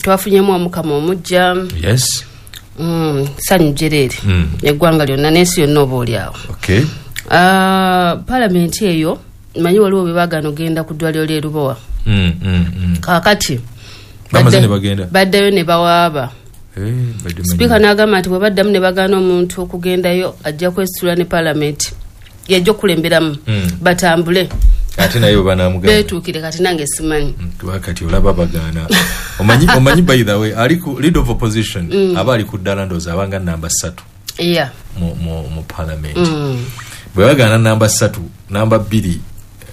Twafunyemu omukama omujja. Yes. Sanyu jereere. Eggwanga lyonna n'ensi yonna oba oli awo. Okay. Palamenti eyo manyi waliwo bwe baagaana ogenda ku ddwaliro ly'e Lubowa. Kaakati bamaze ne bagenda, baddayo ne bawaaba. Badde Sipiika n'agamba nti bwe baddamu ne bagaana omuntu okugendayo, ajja kwesitula ne palamenti yajja okukulemberamu, batambule. Ate naye bwe banamugamba beetuukire. Kati nange simanyi. Kuba kati olaba bagaana, omanyi by the way, ali ku leader of opposition, aba ali ku ddala, ndowooza abanga namba 3 mu parliament. Bwe bagaana namba 3, namba 2,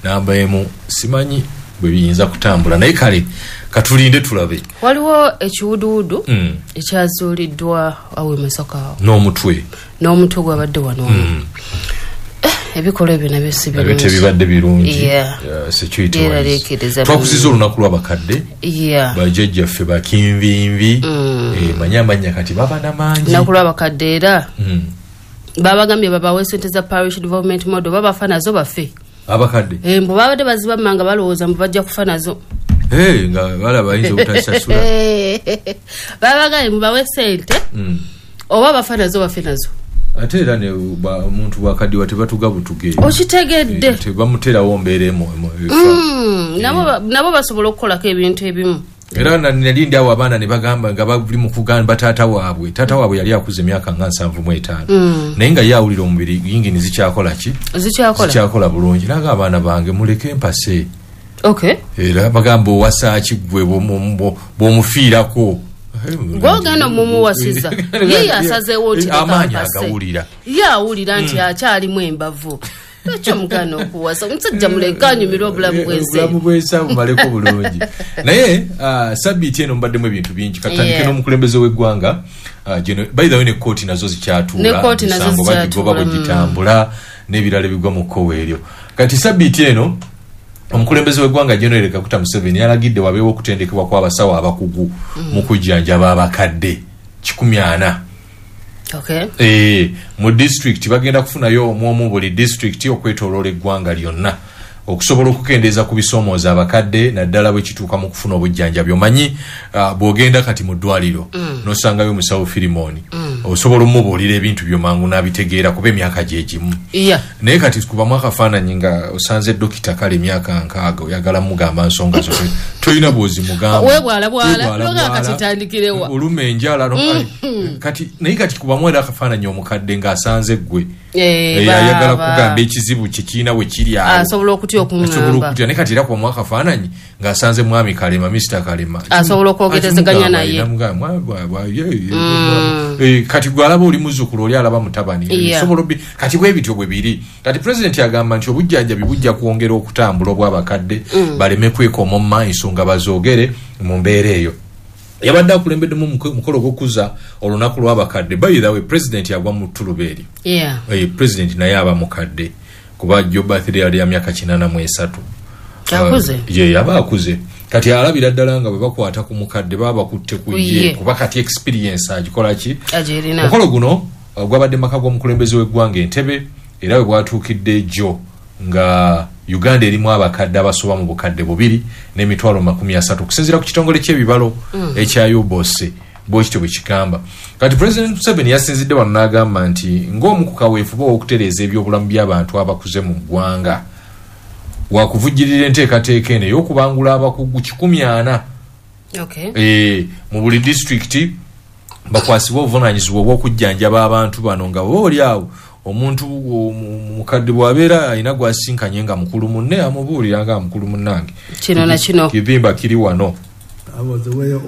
namba 1, simanyi bwe biyinza kutambula, naye kale katulinde tulabe. Waliwo ekiwuduwudu ekyazuuliddwa awo e Masaka awo n'omutwe. N'omutwe gwabadde wano. Ebikolwa ebyo nabyo si nabyo birungi. Tebibadde birungi. Security wise. Byeraliikiriza. Twakuziza olunaku lw'abakadde, bajjajjaffe bakinvinvi. Manyi amannya kati baba namangi. Lunaku lw'abakadde era babagambye babawe sente za parish development model, babafa nazo bafe. Abakadde. Mbu babadde bazibamma nga balowooza mbu bajja kufa nazo. Nga balaba bayinza obutasasula. Babagambye mubawe sente, oba bafa nazo bafe nazo. Ate era ne omuntu bwakaddiwa tebatuga butuge. Okitegedde? Tebamuterawo mbeera efa. Nabo basobola okukolako ebintu ebimu. Era nali ndi awo, abaana ne bagamba nga bali mu kugamba taata waabwe. Taata waabwe yali akuze emyaka nga 75, naye nga ye awulira omubiri yingini zikyakola ki? Zikyakola. Zikyakola bulungi. Naga abaana bange, muleke mpase. Era bagamba, owasa ki gwe bw'omufiirako? Gwogenda omumuwasiza, ye yasazeewo nti leka amaanyi mpase. Agawulira. Ye awulira nti akyalimu embavu. Lwaki omugaana okuwasa omusajja? Muleke anyumirwe obulamu bwensi. Obulamu bwensi bumaleko bulungi. Naye sabbiiti eno mubaddemu ebintu bingi. Katandike n'omukulembeze w'eggwanga. By the way, ne kooti nazo zikyatuula. Ne kooti nazo emisango bagigoba zikyatuula. Bwe gitambula n'ebirala ebigwa mu kkowa eryo. Kati sabbiiti eno omukulembeze w'eggwanga General Kaguta Museveni yalagidde wabeewo okutendekebwa kw'abasawo abakugu mu kujjanjaba abakadde 400. Mu district bagenda kufunayo omwomu buli district okwetoloola eggwanga lyonna, okusobola okukendeeza ku bisoomooza abakadde, naddala bwe kituuka mu kufuna obujjanjabi. Omanyi, bw'ogenda kati mu ddwaliro n'osangayo omusawo Firimoni, osobola omubuulira ebintu byo mangu n'abitegeera kuba emyaka gye gimu. Naye kati kubamu akafaananyi nga osanze dokita kale emyaka 60, oyagala mugamba nsonga zo, tolina bw'ozimugamba. Weebwalabwala. Weebwalabwala. Noga kati tandikirewa? Oluma enjala kati. Naye kati kubamu era akafaananyi omukadde ng'asanze ggwe, ayagala kugamba ekizibu kye kirina we kiri awo. Asobola okutya asobola okuŋŋamba. Okutya. Naye kati era kubamu akafaananyi ng'asanze mwami Kalema, Mr Kalema. Asobola okwogerezeganya naye. Namugamba, ye. Kati gwe alaba oli muzzukulu, oli alaba mutabani. Sobola kati bwe bityo bwe biri. Kati pulezidenti agamba nti obujjanjabi bujja kwongera okutambula obw'abakadde, baleme kwekomomma, ensonga bazoogere mu mbeera eyo. Yabadde akulembeddemu mukolo ogw'okuza olunaku lw'abakadde. By the way, pulezidenti agwa mu ttuluba eryo. Pulezidenti naye aba mukadde kuba jo birthday yali ya myaka 83. Akuze. Ye aba akuze. Kati alabira ddala nga bwe bakwata ku mukadde baba bakutte ku Ku ye, ye. kuba kati experience agikola ki? Agirina. Omukolo guno gwabadde maka g'omukulembeze w'eggwanga Entebe, era bwe bwatuukidde jjo nga Uganda erimu abakadde abasoba mu 2,300,000 okusinziira ku kitongole ky'ebibalo ekya UBOS, bwekityo bwe kigamba. Kati President Museveni yasinzidde wano n'agamba nti ng'omu ku kaweefube ow'okutereeza ebyobulamu by'abantu abakuze mu ggwanga, wakuvujjirira enteekateeka eno ey'okubangula abakugu 400 mu buli disitulikiti, bakwasibwe obuvunanyizibwa obw'okujjanjaba abantu bano, nga oba oli awo omuntu mukadde bw'abeera alina gwasinkanye nga mukulu munne, amubuulira nga mukulu munnange, Kino na kino. Kivimba kiri wano. I was aware of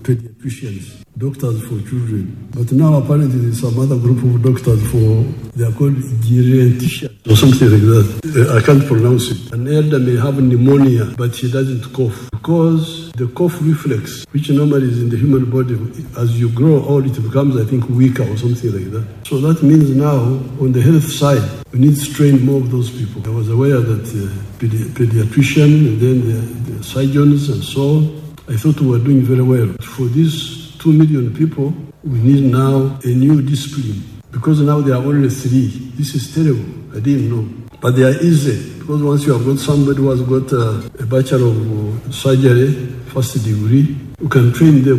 pediatricians, doctors for children. But now apparently there's some other group of doctors for, they are called geriatricians or something like that. I can't pronounce it. An elder may have pneumonia, but he doesn't cough, because the cough reflex, which normally is in the human body, as you grow old, it becomes, I think, weaker or something like that. So that means now, on the health side, we need to train more of those people. I was aware that pediatrician and then the surgeons and so on. I thought we were doing very well. For these 2 million people, we need now a new discipline, because now there are only three. This is terrible. I didn't know. But they are easy, because once you have got somebody who has got a Bachelor of Surgery, first degree, you can train them.